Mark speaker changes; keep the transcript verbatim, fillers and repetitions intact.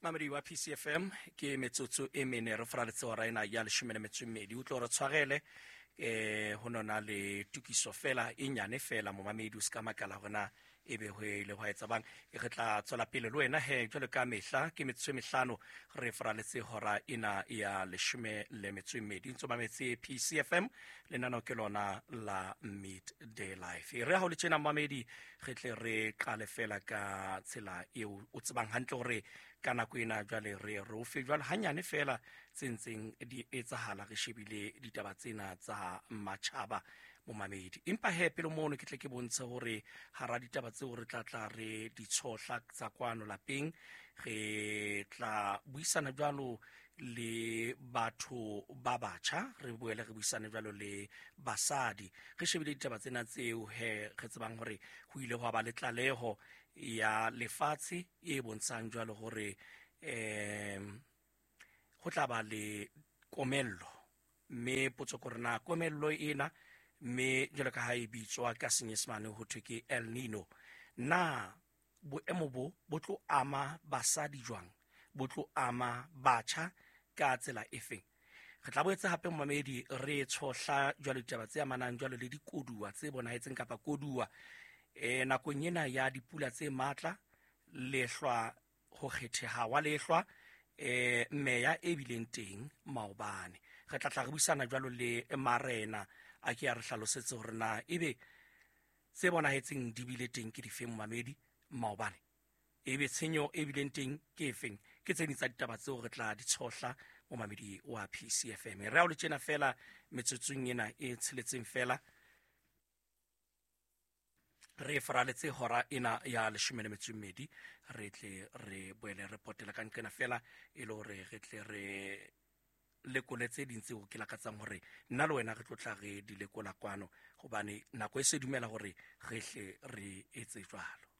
Speaker 1: Mamedi wa P C F M ke metsotso e mene re faraletse hora ena ya leshome le metso e mmedi. O tlo re tshwarele eh ho nona le tukiso fela e nyane fela momamedi o ska makala hore na ebe ho ile hwa etsa bang. Re tla tswela pele le wena he jwalo ka mehla ke metsotso e mehlano re faraletse hora ena ya leshome le metso e mmedi. Ntso mametse P C F M lenaneo ke lona la Midday Life. Re ha o le tjena mamedi re tle re qale fela ka tsela eo o tsebang hantle hore ka nako ena jwale re re o fe jwale hanyane fela tse ntseng di etsahala re shebile ditaba tsena tsa matjhaba momamedi. Empa he pele mono ke tle ke bontshe hore hara ditaba tseo re tla tla re di tshohla tsa kwano lapeng re tla buisana jwalo le batho ba batjha, re boele re buisane jwalo le basadi. Re shebile ditaba tsena tseo he re tsebang hore ho ile hwa ba le tlaleho ya lefatshe e bontshang jwalo hore em ho tla ba le komello, mme potso ke hore na komello ena mme jwalo ka ha e bitswa ka Senyesemane ho thwe ke El Nino, na boemo bo bo tlo ama basadi jwang, bo tlo ama batjha ka tsela efeng? Re tla boetse hape momamedi re tshohla jwalo ditaba tse amanang jwalo le dikoduwa tse bonahetseng kapa koduwa eh nakong ena ya dipula tse matla, lehlwa, ho kgetheha wa lehlwa eh meya e bileng teng maobane. Re tla tla re buisana jwalo le marena a ke a re hlalosetse hore na ebe tse bonahetseng di bile teng ke difeng momamedi maobane, ebe tshenyo e bileng teng ke efeng. Ke tse ding tsa ditaba tseo re tla di tshohla momamedi wa P C F M. Re a o le tjena fela metsotsong ena e tsheletseng fela re faraletse hora ena ya leshome le metso e mmedi, re tle re boele re potela ka nqena fela e le hore re tle re lekole tse ding tseo ke lakatsang hore nna le wena re tlo tla re di lekola kwano, hobane nako e se dumela hore re hle re etse jwalo.